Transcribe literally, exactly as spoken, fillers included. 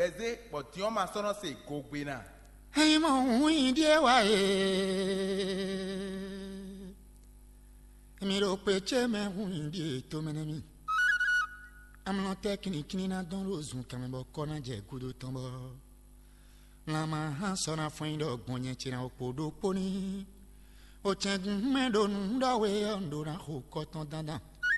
Bɛzé bɔ din ɔ́ ma sɔ́ nɔ se gogbe ná. Ényí mɔ hun nyi ɖíe wá e, mi ɖo kpe ce mɛ hun nyi ɖíe tomɛ nɛ́ mi. Amlɔ tɛ́ kínníkínní ná dɔn ɖo zun kanmɛ bɔ kɔ́ ná jɛ gúdo tɔn bɔ lanmɛ hán sɔ́ ná fɔ́n nyi ɖɔ gbɔn nyɛ ce ná kpo ɖokpó ní. O cɛn gun mɛ ɖo nǔ ɖɔ we ɔ́, un ɖó ná xo kɔ tɔn dandan.